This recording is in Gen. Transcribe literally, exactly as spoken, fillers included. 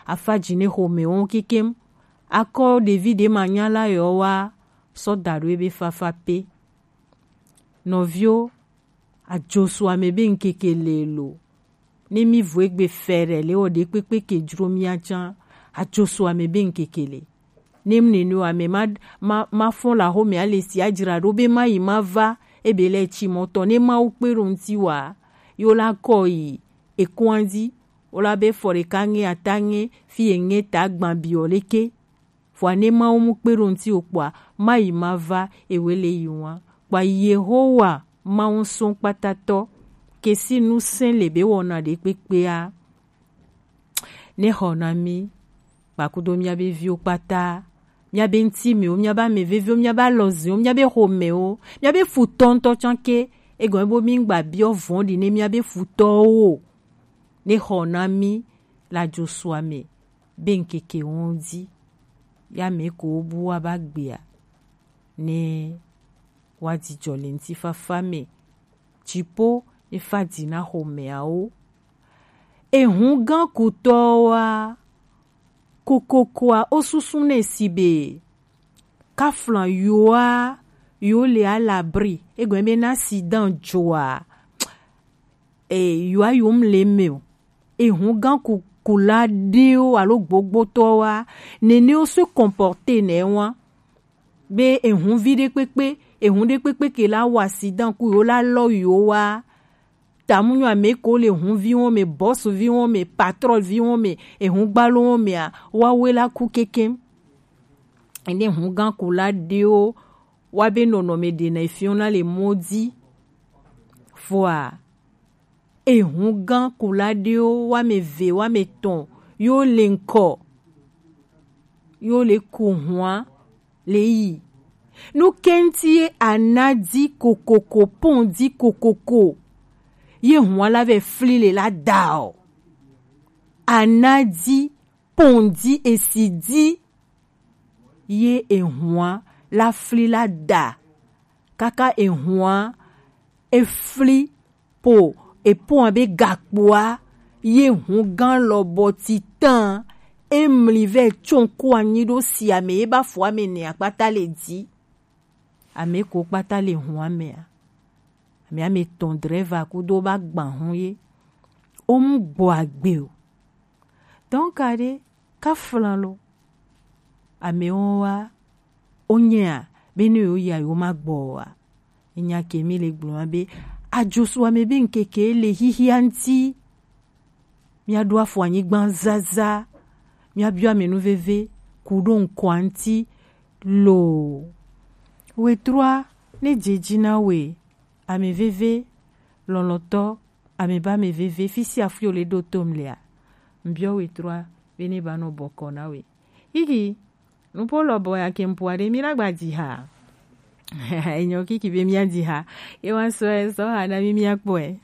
Afaji ne xomɛwo kekem. Akɔ ɖevi ɖe ma nya la yɔ wa sɔ da ɖo ebe fafa pe. Nɔvio, ajosu ame be ŋkeke le lo. Ne mi vo egbe fɛrɛ le wɔ ɖe kpekpe ke jro mia can, ajosu ame be ŋkeke le. Ne mu nene wa me ma, ma, ma fɔn la xomɛ ale si ajra ɖo be ma yi ma va, ebe le tsi mɔtɔ ne ma wo kpe ɖo ŋti wa, yo la kɔ yi ekɔn dzi, wo la be fɔ ɖeka ŋe ata ŋe fi ye ŋe ta gban biɔ leke. Vɔa ne Mawu mu kpe ɖo ŋti o kpɔa, ma yi ma va ewe le yi wa. Kpɔa Yehowa Mawu sɔn kpatatɔ ke si nu sɛn le be wɔna ɖe kpekpea. Ne xɔ na mi, kpakudo miabe viwo kpata, miabe ŋti mewo, miabe ame veviwo, miabe alɔziwo, miabe xomɛwo, miabe futɔ ŋtɔ can ke, egɔme bo mi ŋgba biɔ vɔn ɖi ne miabe futɔwo o. Ne xɔ na mi le ajosua me be ŋkeke wɔn dzi, ya me ko wo bu wa ba gbea, ne wa jijɔ le ŋtifafa me, dzipo ne fa dzi na xomɛawo. Ehun gan kutɔwoa, kokokoa, wo susu nɛ si be kaflan yoa, yo le à l'abri, egɔme be na accident joa, e, yoa yo mu le me o. Ehun gan ku, kula ɖewo alo gbogbotɔwoa, nene wo se comporter nɛ wa. Be ehun vi ɖe kpekpe, ehun ɖe kpekpe ke la wa accident ku yo la lɔ yo wa. Tamunyɔ ame ko le hun vi wɔn me, boss vi wɔn me, patron vi wɔn me, ehun gbalo wɔn me a, wa we la ku kekem. Ene hun gan kula ɖewo wa be nɔnɔme ɖe na efiɔn na le mɔ dzi. Vɔa, ehun gan kula ɖewo wa me ve, wa me tɔn, yo le ŋkɔ, yo le ku hua le yi. Nu kɛnti ye anadi kokoko, pɔndi kokoko, ye hua la vɛ fli le la da o. Anadi, pɔndi, esidi, ye ehua la fli la da. Kaka ehua efli po, epoa be gakpoa, ye hun gan lɔ bɔ titan, emli vɛ tsɔn ko anyi ɖo si ame ye ba fo ame ne akpata le di. Ame ko kpata le hun ame a. Ame ame tɔn drɛva kudo ba gban hun ye. O mu gbɔ agbe o. Donc aɖe, kaflan lo. Amewo wa, wonyea, be ne yewo yia, yewo ma gbɔ oa. Enya ke mi le gblɔ be, ajosu ame be ŋkeke le xixia ŋti. Mia ɖo afɔ anyigba zaza. Mia biɔ ame nu veve, ku ɖo ŋkɔa ŋti. Lo. Wetrua, ne dze dzi na we, ame veve, lɔlɔtɔ, ame ba ame veve, fi sia fi wo le ɖo tom lea. Ŋbiɔ wetrua, be ne ba nɔ bɔkɔ na we. Igi, nupo lɔbɔ ya ke ŋpo aɖe mi la gba dzi ha. Enyo kiki be mia dzi ha. Ye wa sɔ, sɔ ha na mi mia kpɔe.